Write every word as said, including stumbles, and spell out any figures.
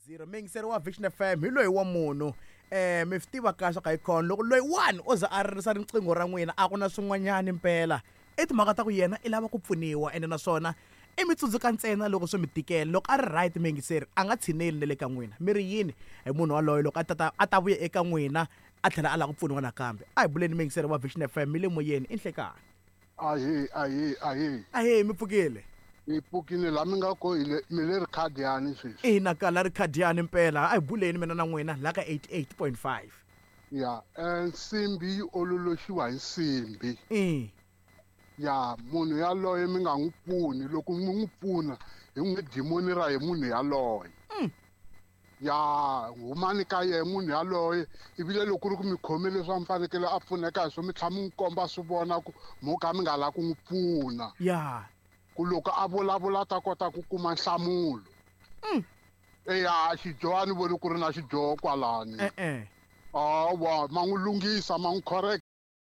Zero muyingiseri wa Vision F M hi loyi wa munhu eh mi swi tiva kahle ka icon loko loyi one o za a ririsa riqingho ra n'wina, a ku na swin'wanyani mpela, i timhaka ta ku yena i lava ku pfuniwa. Ende naswona i mi tsundzuka ntsena loko swi mi tikela. Loko a ri right, muyingiseri a nga tshineli na le ka n'wina. Mi ri yini hi munhu waloye loko a tata a ta vuya eka n'wina, a tlhela a lava ku pfuniwa nakambe? A hi buleni, muyingiseri wa Vision F M, mi le moyeni, i nhlekani. Ahee, ahee, ahee. Ahee, mi pfukile? Hi pfukile. Laha mi nga ko hi le mi le Rikhadiyani sweswi. Ina, kala Rikhadiyani mpela. A hi buleni mina na n'wina la ka eighty-eight point five. Ya, um nsimbi yi ololoxiwa hi nsimbi. I ya munhu yaloye mi nga n'wi pfuni. Loko mi n'wi pfuna, hi n'wi dimoni ra hi munhu yaloye. Ya humani ka yehe munhu yaloye. Ivile loko ku ri ku mi khome leswi a mi fanekele a pfuneka hi swo, mi tlhela mi n'wi komba swi vona ku mo ka mi nga lavi ku n'wi pfuna, ya ku loko a vulavula ta kota ku kuma nhlamulo. Eya, xidyoho a ni voni ku ri na xidyoho kwalani. E-e. Hawa, ma n'wi lunghisa, ma n'wi correct.